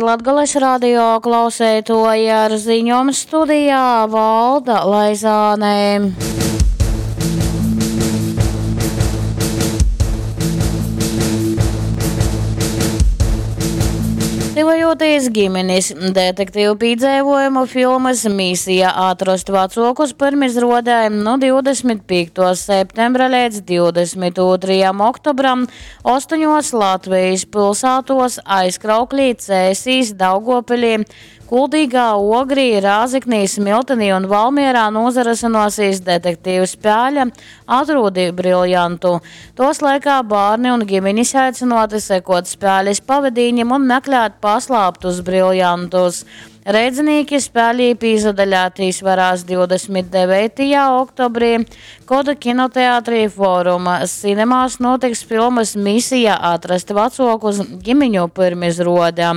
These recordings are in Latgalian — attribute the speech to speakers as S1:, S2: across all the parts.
S1: Latgales radio klauseitoji ar ziņom studijā Valda Laizāne. Tyvojoties ģimenes detektīvu pīdzeivojumu filmas Misija atrast vecokus pyrmizruodē nu 25. septembra līdz 22. oktobram astoņos Latvijas pilsētos Aizkrauklī, Cēsīs, Daugopilī, Kuldīgā, Ogrī, Rāzeknī, Smiltenī un Valmierā nozarasinosies detektīvu spēle Atrodi briljantu. Tos laikā bērni un ģimenes aicināti sekot spēles pavadīņam un meklēt paslāptus briljantus. Reidzinīki spēlī pīzadaļātīs varās 29. oktobrī, kod kinoteātrī Foruma Cinemās notiks filmas Misija atrast vecokus ģimeņu pyrmizruode.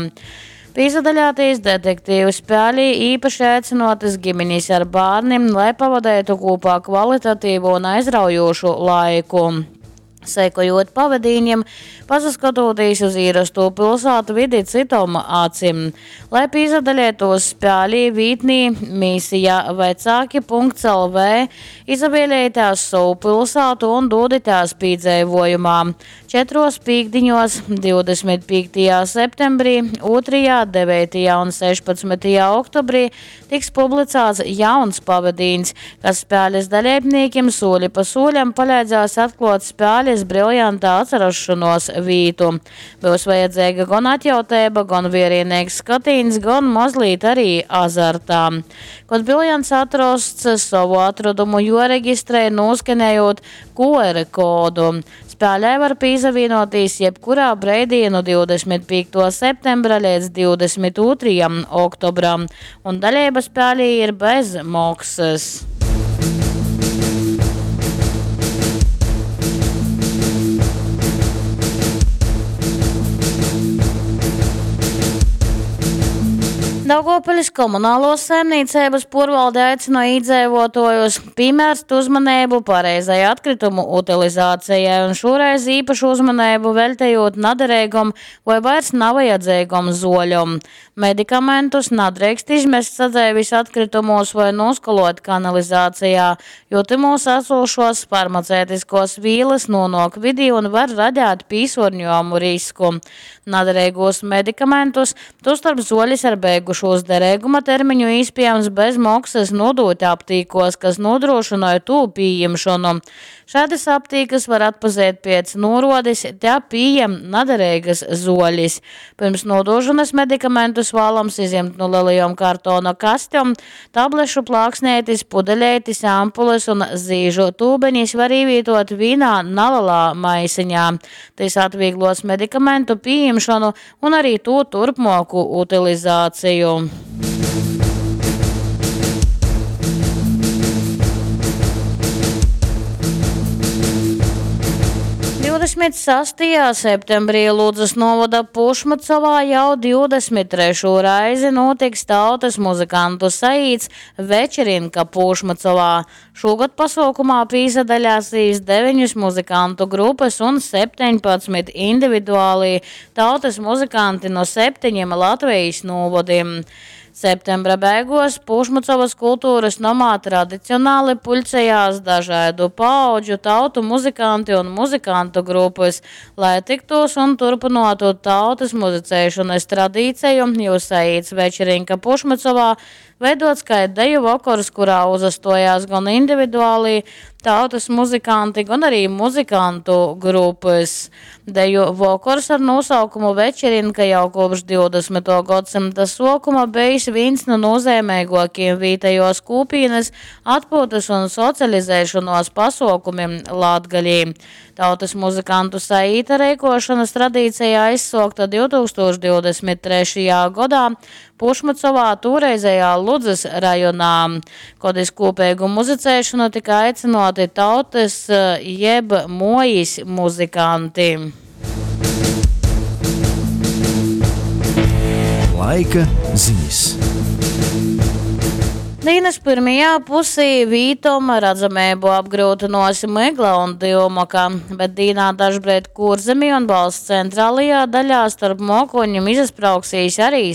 S1: Pīzadaļātīs detektīvu spēlī īpaši aicinotas ģimenes ar bērniem, lai pavadētu kopā kvalitatīvu un aizraujošu laiku. Sekojot pavadīņiem, pasaskatoties uz īrasto pilsētu vidi citom acim. Lai pīzadaļētos spēlī vītnī misija vecāki.lv izavēlējitās savu pilsētu un doditās pīdzeivojumā. Četros pīkdiņos 25. septembrī, 2., 9. un 16. oktobrī tiks publicēts jauns pavadīns, kas spēles dalībniekiem soli pa soļam palīdzēs atklāt spēles briljantā atcerašanos vītu. Būs vajadzīga gan atjautēba, gan vierienīgs skatīns, gan mazliet arī azartā. Kad briljants atrasts, savu atradumu joreģistrē noskenējot QR kodu. Spēlē var pīzavīnoties jebkurā breidī no 25. septembra līdz 22. oktobram, un daļība spēlī ir bez maksas. Daugavpilis komunālos saimniecības porvalde aicina iedzīvotājus piemērst uzmanību pareizai atkritumu utilizācijai un šoreiz īpašu uzmanību veltējot naderīgam vai vairs navajadzīgam zoļam. Medikamentus nadrīkst izmest sadzeivis atkritumos vai noskolot kanalizācijā, jo timos esošos farmaceitiskos vīles nonāk vidī un var radīt pīsorņojumu risku. Naderīgos medikamentus, tostarp zoļas ar beigušos derīguma termiņu iespējams bez maksas nodot aptīkos, kas nodrošināja tū pieņemšanu. Šādas aptīkas var atpazīt pēc norodes, te pieejam naderīgas zoļas. Pirms nodošanas medikamentus vēlams izņemt no lielajām kartona kastēm, tablešu plāksnētis, pudeļētis, ampules un zīžu tūbeņas var ievietot vienā nelielā maisiņā. Tas atvieglos medikamentu pieņemšanu un arī to turpmāku utilizāciju. 26. septembrī Ludzas novada Pušmucovā jau 23. reizi notiks tautas muzikantu saīts Večerinka Pušmucovā. Šogad pasaukumā pīzadaļāsīs 9 muzikantu grupas un 17 individuālī tautas muzikanti no 7 Latvijas novadiem. Septembra beigās Pušmucovas kultūras nomā tradicionāli puļcējās dažādu paudžu tautu muzikanti un muzikantu grupas, lai tiktos un turpinātu tautas muzicēšanas tradīciju, jo saīts večerinka Pušmucovā veidots kā deju vakars, kurā uzastojās gan individuāli tautas muzikanti, gan arī muzikantu grupas. Deju vakars ar nosaukumu Večerinka jau kopš 20. gadsimta sākuma bijis viens no nozīmīgākajiem vietējos kūpīnas atpūtas un socializēšanos pasaukumiem Latgalī. Tautas muzikantu saīta reikošanas tradīcija aizsokta 2023. gadā Pušmucovā, toreizējā Ludzas rajonā, kad iz kopīgu muzicēšanu tika aicināti tautas jeb mojas muzikanti.
S2: Laika ziņas.
S1: Dīnys pyrmajā pusī vītom radzameibu apgryutynuos mygla un dyumaka, bet dīnā dažbreid Kūrzemī un valsts centrālajā daļā storp muokoņim izasprauksīs arī